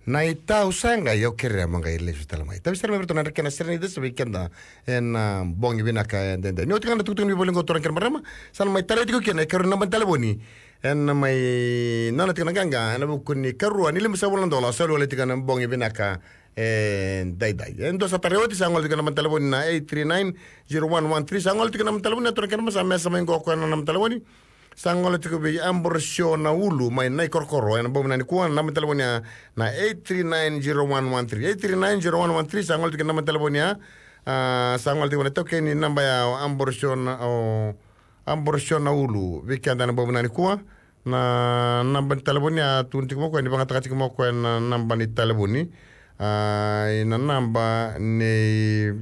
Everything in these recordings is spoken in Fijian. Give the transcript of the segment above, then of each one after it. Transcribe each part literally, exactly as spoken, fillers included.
Na itau sa qai, au kerea mo qai lesu tale mai. Tavi sara mai vei ratou na dra kena sere ni cesa vei keda ena bogi vinaka edaidai. Ni oti ga na tukutuku ni voli qo, turaga kei na marama, sa na mai talai tiko kina e karua ni naba ni talevoni. Ena mai nona tiko na qaqa ena vuku ni karua ni limasagavulu na dola sa lualai tiko ena bogi vinaka edaidai. E dua sa tarai oti, sa gole tiko na naba ni talevoni na eight three nine zero one one three. Sa gole tiko na naba ni talevoni, turaga kei na marama, sa mesa mai qo o koya na naba ni talevoni. Sa gole tiko vei Ambrosio Naulu mai Naikorokoro ena bogi vinaka nikua, na naba ni talevoni ya na eight three nine zero one one three. Eight three nine zero one one three, sa gole tiko na naba ni talevoni ya. A, sa gole tiko na taukei ni naba ya o Ambrosio Na, o Ambrosio Naulu vei keda ena bogi vinaka nikua. Na naba ni talevoni ya, tukuna tiko mai o koya ni vakayagataka tiko mai o koya na naba ni talevoni. A, ena naba nei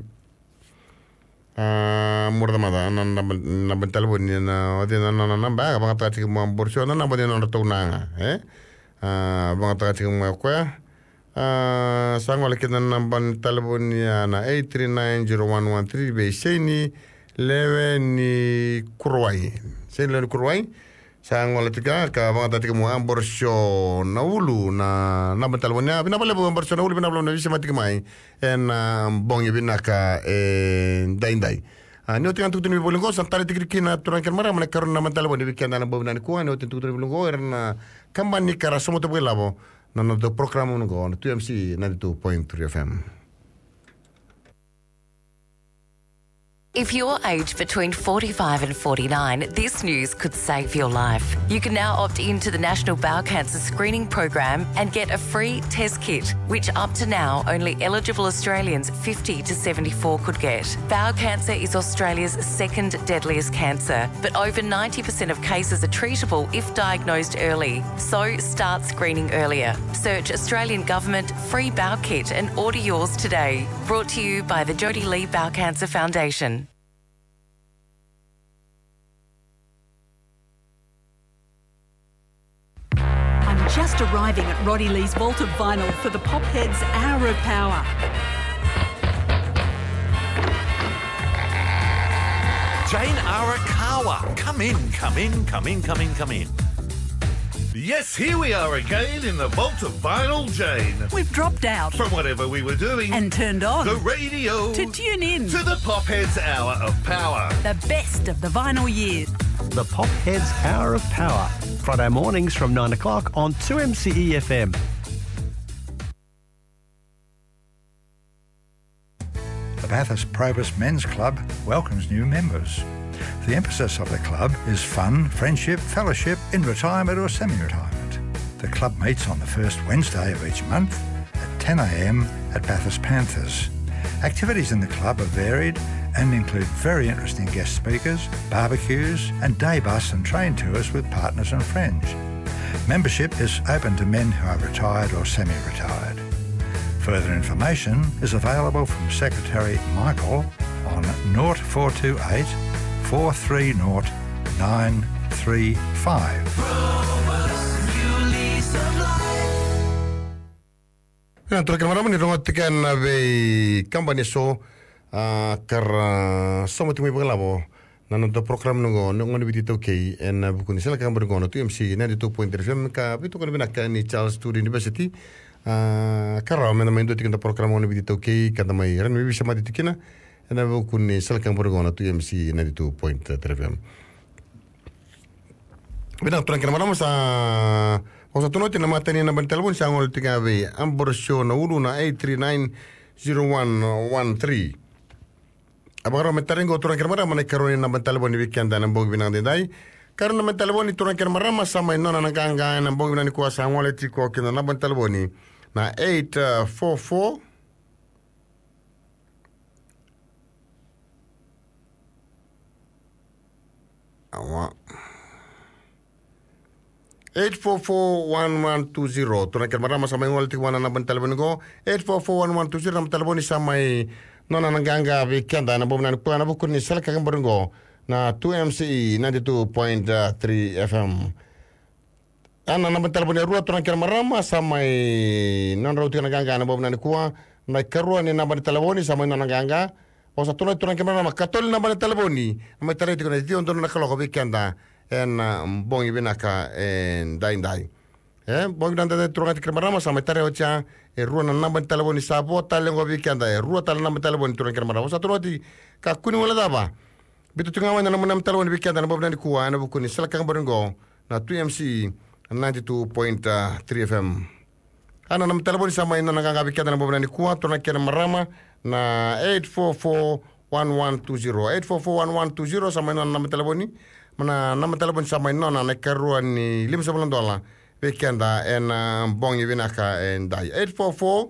A, mura tamata, na naba, naba ni talevoni, na, o cei na nona naba, a, vakayagataka tiko mai o Ambrosio, na naba ni nodratou na yaga, e? A, vakayagataka tiko mai o koya. A, sa gole kina na naba ni talevoni ya na eight three nine zero one one three vei Seini Lewe ni Kuruwai. Seini Lewe ni Kuruwai. Sa gole tiko ga ka vakayagataka tiko mai o Ambrosio Naulu na naba ni talevoni ya. Vinaka vakalevu Ambrosio Naulu, vinaka vakalevu na veisemati tiko mai ena bogi vinaka edaidai. A, ni oti ga na tukutuku ni voli qo, sa talai tiko kina, turaga kei na marama, na karua ni naba ni talevoni vei keda ena bogi vinaka nikua. Ni oti na tukutuku ni voli qo, era na kabani ka ra sauma tu vakailavo na noda program qo na two M C E ninety-two point three F M. If you're aged between forty-five and forty-nine, this news could save your life. You can now opt in to the National Bowel Cancer Screening Program and get a free test kit, which up to now only eligible Australians fifty to seventy-four could get. Bowel cancer is Australia's second deadliest cancer, but over ninety percent of cases are treatable if diagnosed early. So start screening earlier. Search Australian Government Free Bowel Kit and order yours today. Brought to you by the Jody Lee Bowel Cancer Foundation. I'm just arriving at Roddy Lee's vault of vinyl for the Pop Heads Hour of Power. Jane Arakawa. Come in, come in, come in, come in, come in. Yes, here we are again in the vault of vinyl, Jane. We've dropped out from whatever we were doing and turned on the radio to tune in to the Pop Heads Hour of Power. The best of the vinyl years. The Pop Heads Hour of Power, Friday mornings from nine o'clock on two M C E F M. The Bathurst Probus Men's Club welcomes new members. The emphasis of the club is fun, friendship, fellowship in retirement or semi-retirement. The club meets on the first Wednesday of each month at ten a.m. at Bathurst Panthers. Activities in the club are varied and include very interesting guest speakers, barbecues, and day bus and train tours with partners and friends. Membership is open to men who are retired or semi-retired. Further information is available from Secretary Michael on nought four two eight, four three nought, nine three five. Ena turaga kei na marama, ni rogoca tiko na veikabani eso, a, ka ra sauma tiko mai vakailavo na noda program qo, na Gone Viti iTaukei, ena vuku ni sala ka bori qo na two M C E ninety-two point three F M, ka veitokoni vinaka ni Charles Sturt University. A, ka rawa meda mai dua tiko na program Gone Viti iTaukei, ka da mai rawa ni veisemati tiko kina ena vuku ni sala ka bori qo na two M C E ninety-two point three F M. Vinaka turaga kei na marama, sa, o sa tukuna oti na matai ni naba ni talevoni, sa gole tiko ga vei Ambrosio Naulu na eight three nine zero one one three. A vakarau me tarai qo turaga kei na marama na ikarua ni naba ni talevoni vei keda ena bogi vinaka edaidai. Karua ni naba ni talevoni turaga kei na marama, sa mai nona na qaqa ena bogi vinaka nikua, sa gole tiko kina na naba ni talevoni na eight four four. Awa. Eight four four one one two zero. Turaga kei na marama, sa mai gole tiko vua na naba ni talevoni qo. Eight four four one one two zero, naba ni talevoni sa mai nona na qaqa vei keda ena bogi vinaka nikua ena vuku ni sala ka bori qo na two M C E ninety-two point three F M. A, na naba ni talevoni e rua turaga kei na marama, sa mai nodrau tiko na qaqa ena bogi vinaka nikua. Na ikarua ni naba ni talevoni sa mai nona na qaqa. O sa tukuna turaga kei na marama, katolu na naba ni talevoni, mai tarai tiko na ciwa donu na kaloko vei keda ena bogi vinaka edaidai. E bogi vinaka edaidai, turaga kei na marama, sa mai tarai oti ya e rua na naba ni talevoni sa vo tale oqo vei keda. E rua tale na naba ni talevoni, turaga kei na marama, sa turaga oti. Kakua ni guilecava, biuta tiko ga mai na nomu naba ni talevoni vei keda ena bogi vinaka nikua ena vuku ni sala ka bori oqo na two M C E ninety-two point three F M. A na naba ni talevoni sa mai nona qaqa vei keda ena bogi vinaka nikua, turaga kei na marama, na eight four four one one two zero. Eight four four one one two zero sa mai nona naba ni talevoni. Ma na naba ni talevoni sa mai nona na ikarua ni limasagavulu na dola vei keda ena bogi vinaka edaidai. Eight four four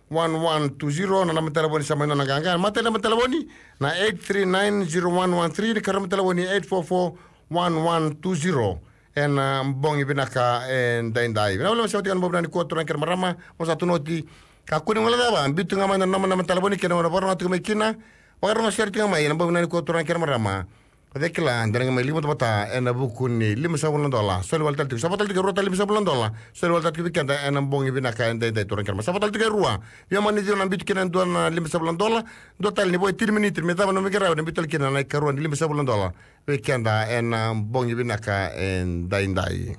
one one two zero na naba ni talevoni sa mai nona qaqa. Matai naba ni talevoni na eight three nine zero one one three, na ikarua ni talevoni eight four four one one two zero. Ena bogi vinaka edaidai. Vinaka vakalevu na sema tiko ena bogi vinaka nikua, turaga kei na marama, mo sa turaga oti. Kakua ni guilecava, biuta ga mai na naba ni talevoni kei na vakarorogo tiko mai kina. Vakarorogo sere tiko ga mai ena bogi vinaka nikua, turaga kei na marama. O cei kila, eda na qai mai liga vata ena vuku ni limasagavulu na dola. Soli wale tale tiko, sa vo tale tiko e rua tale limasagavulu na dola. Soli wale tale tiko vei keda ena bogi vinaka edaidai, turaga kei na marama. Sa vo tale tiko e rua. Ia mani ciwa na biuta kina e dua na limasagavulu na dola. Dua tale ni vo e tini miniti me cava na nomu iqaravi, na biuta tale kina na ikarua ni limasagavulu na dola vei keda ena bogi vinaka edaidai.